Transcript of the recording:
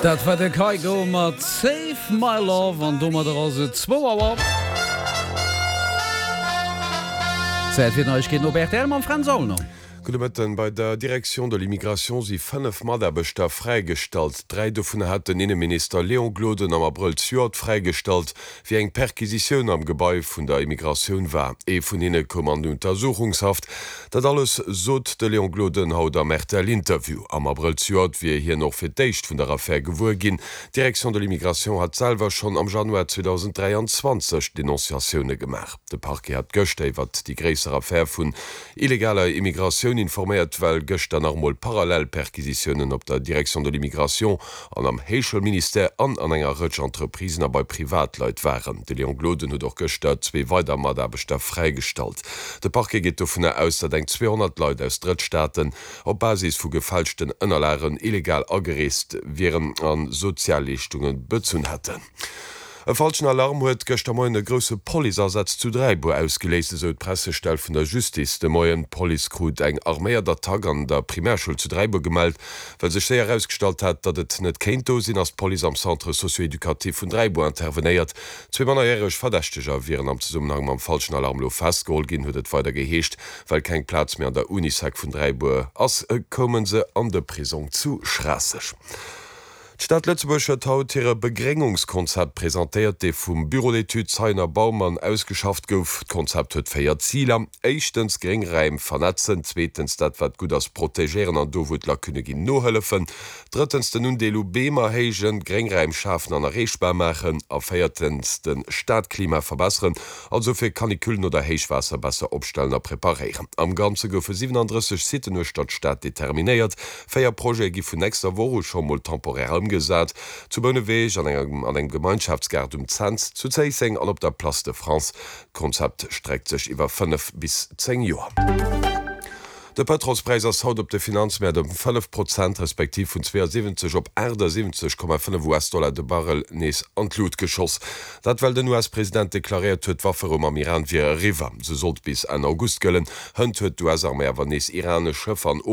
Dat war de Kygo mat Save My Love an domadder ass et zwou Auer. Zäit fir d'Neiegkeeten op rtl mam Fränz Aulner. Gudde Mëtten. Bei der Direction de l'immigration si 5 Mataarbechter fräigestallt. Dräi dovun hat den Inneminister Léon Gloden am Abrëll zejoert fräigestallt, wéi eng Perquisitioun am Gebai vun der Immigratioun war. Ee vun hinne koum an Untersuchungshaft. Dat alles sot de Léon Gloden haut am RTL-Interview. Am Abrëll zejoert wier hien och fir d'éischt vun der Affär gewuer ginn. D'Direction de l'immigration hat selwer schonn am Januar 2023 Denonciatioune gemaach. De Parquet hat gëschter iwwert déi gréisser Affär vun illegaler Immigratioun informéiert, well gëschter nach emol parallel Perquisitiounen op der Direction de l'immigration an am Héichschoulministère an an enger Rëtsch Entreprisen a bei Privatleit waren. De Léon Gloden huet och gëschter zwee weider Mataarbechter fräigestallt. De Parquet geet dovunner aus, datt eng 200 Leit aus Drëttstaaten op Basis vu gefälschten Ënnerlagen illegal agereest wieren a Sozialleeschtunge bezunn hätten. E falschen Alarm huet gëschter Moien e grousse Policeasaz zu Dräibuer ausgeléist, esou d'Pressestell vun der Justice de Moien. D'Police krut eng arméiert Attack an der Primärschoul zu Dräibuer gemellt. Well sech séier erausgestallt hat, datt et net kéint do sinn, ass d'Police am Centre socio-éducatif vun Dräibuer intervenéiert. Zwee mannerjäreg Verdächteger wieren am Zesummenhang mam falschen Alarm elo festgeholl ginn, huet et weider geheescht. Well keng Plaz méi an der Unisec vun Dräibuer ass, koume se an de Prisong zu Schraasseg. D'Stad Lëtzebuerg huet haut hire Begréngungskonzept presentéiert, dee vum Bureau d'études Zeyen a Baumann ausgeschafft gouf. D'Konzept huet 4 Ziler, éischtens Gréngräim vernetzen, zweetens dat wat gutt ass protegéieren an do wou et Lacunne ginn nohëllefen, drëttens den Undeel u Beem erhéijen, Gréngräim schafen an erreechbar maachen a véiertens de Stadklima verbesseren, also fir Canicullen oder Héichwaasser besser opstellen a preparéieren. Am Ganze goufe 37 Siten uechter d'Stad determinéiert. Véier Projete gi vun nächster Woch u scho mol temporär ëmgesat, zu Bouneweg, an engem an engem Gemeinschaftsgaart um Cents, zu Zéisseng an op der Place de France. D'Konzept streckt sech iwwer 5 bis 10 Joer. De Pëtrolspräis ass haut op de Finanzmäert ëm 5 Prozent, respektiv vun 72 op 78,5 US-Dollar de Barrel nees an d'Lut geschoss. Dat well den US-President deklaréiert huet, d'Wafferou mam Iran wier eriwwer. Se sollt bis Enn August gëllen. Hënt huet d'US-Arméi awer nees iranesch Schëffer an.